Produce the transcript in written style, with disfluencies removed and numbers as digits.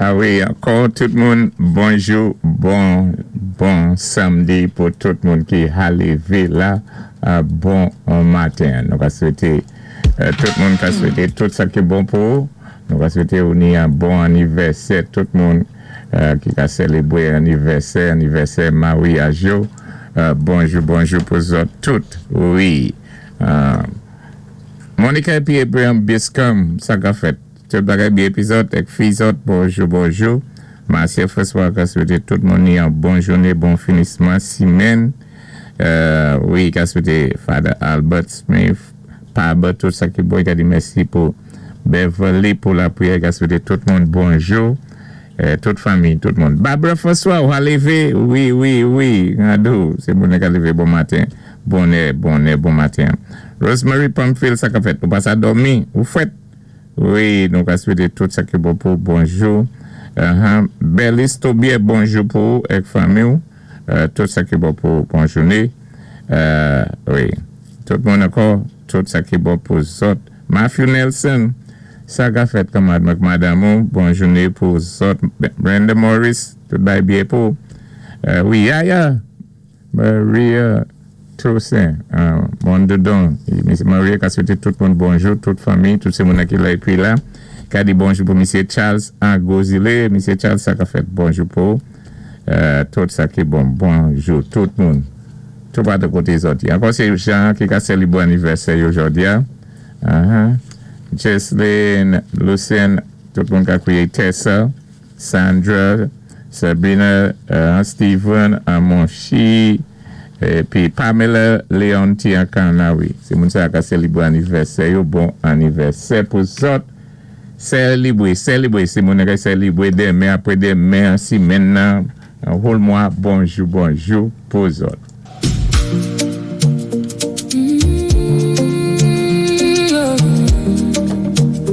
A wi, ankò tout moun, bonjou, bon, bon samdi pou tout moun ki ka lévé la, bon maten. Nou ka swété, tout moun ka swété tout sa ki bon pou ou. Nou ka swété ou ni yon bon anivèsè tout moun ki ka sélébwé anivèsè, anivèsè maryaj yo. Bonjou, bonjou pou zòt tout. Wi. Monica épi Abraham Biscom, sa ka fèt. Tout bagay byen épi zòt, èk fi zòt, bonjou, bonjou. Marcia François ka swété tout moun ni yon bon jouné, bon finisman simenn. Wi, ka swété Father Albert Smith, Paba, tout sa ki bon, ka di mèsi pou Beverly pou lapriyè, ka swété tout moun bonjou. Tout fanmi, tout moun. Barbara François, ou a lévé? Wi, Randou, sé moun ka lévé bon maten. Bonè, bonè, bon maten. Rosemary Pamphile, sa ka fèt? Ou pa sa dòmi? Ou fwèt? Wi, nou ka swété tout sa ki bon pou bonjou. Belis Tobier, bonjou pou ou èk fanmi ou. Tout sa ki bon pou bon jouné. Wi, tout moun ankò, tout sa ki bon pou zòt. Matthew Nelson, sa ka fèt kanmad ak madanm ou, bon jouné pou zòt. Brenda Morris, tout bay byen pou. Wi, Yaya, Maria Toussaint, Mondodon, Miss Maria ka swété tout moun bonjou, tout fanmi, tout sé moun ki la épi la. Ka di bonjou pou Misye Charles Angozile. Misye Charles, sa ka fèt bonjou pou tout sa ki bon. Bonjou tout moun. Tout patou koté zòt. Ankò sé Jean ki ka sélébwé anivèsè yo jòdi a. Jesline, Lucien, tout moun ka kwiyé Tessa, Sandra, Sabrina, Steven, Amonchi, épi Pamela Leonti Ankana, wi. Sé moun sa ka sélébwé anivèsè yo, bon anivèsè pou zòt. Sélébwé, sélébwé, sé moun ka sélébwé denmen, apwé denmen, simenn nan, whole mwa, bonjou, bonjou pou zòt.